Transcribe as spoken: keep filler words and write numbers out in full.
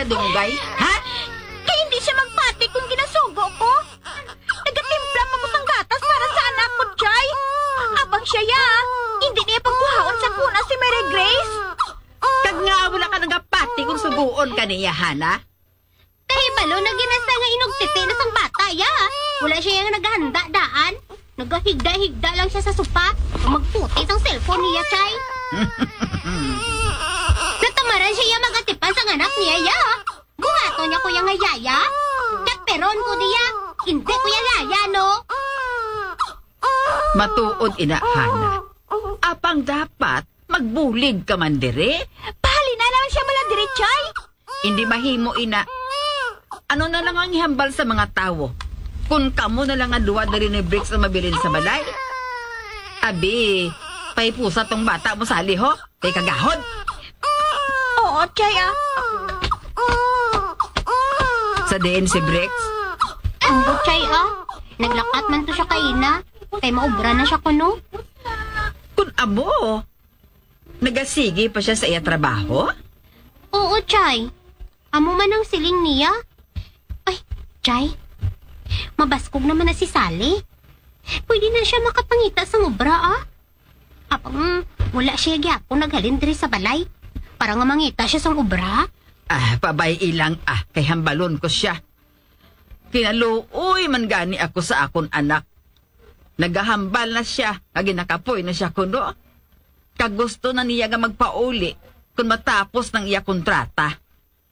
Dunggay, ha? Kay hindi siya magpati kung ginasugo ko. Nagatimpla pa ko sang gatas para sa anak ko, Chay. Apang siya, ya, hindi niya pagkuhaon sa kuna si Mary Grace. Kag nga wala ka nagapati kung suguon ka niya, Hana? Kahibalo na ginasa nga inugtiti na sang bata, ya. Wala siya yang naghanda daan. Nagahigda-higda lang siya sa sopa. Magputi sang cellphone niya, Chay. Natamaran siya ya magatipan sang anak niya, ya. Buhaton niya ko ya nga yaya. Chat peron ko niya. Hindi ko ya yaya, no? Matuod ina, Hana. Apang dapat magbulig ka man diri. Pahalina naman siya bala diri, Chay. Hindi mahimo ina. Ano na lang ang ihambal sa mga tawo? Kung kamo na lang nga duha diri ni Bricks ang mabilin sa balay. Abi, pahipusa tong bata mo sali ho. Kay kagahod. Oo, Chay, ah. Sa diin si Bricks? Ambot, Chay, ah. Naglakat man to siya kaina. Kay maubra na siya kuno. Kun amo, nagasigi pa siya sa iya trabaho? Oo, Chay. Amo man ang siling niya. Ay, Chay. Mabaskog naman na si Sally. Pwede na siya makapangita sang obra, ah. Apang wala siya gyapon naghalin diri sa balay para nga mangita siya sang obra. Ah, pabay-i lang, ah, kay hambalon ko siya. Kinaluoy man gani ako sa akon anak. Nagahambal na siya nga ginakapoy na siya kuno. Kag gusto na niya nga magpauli kon matapos nang iya kontrata.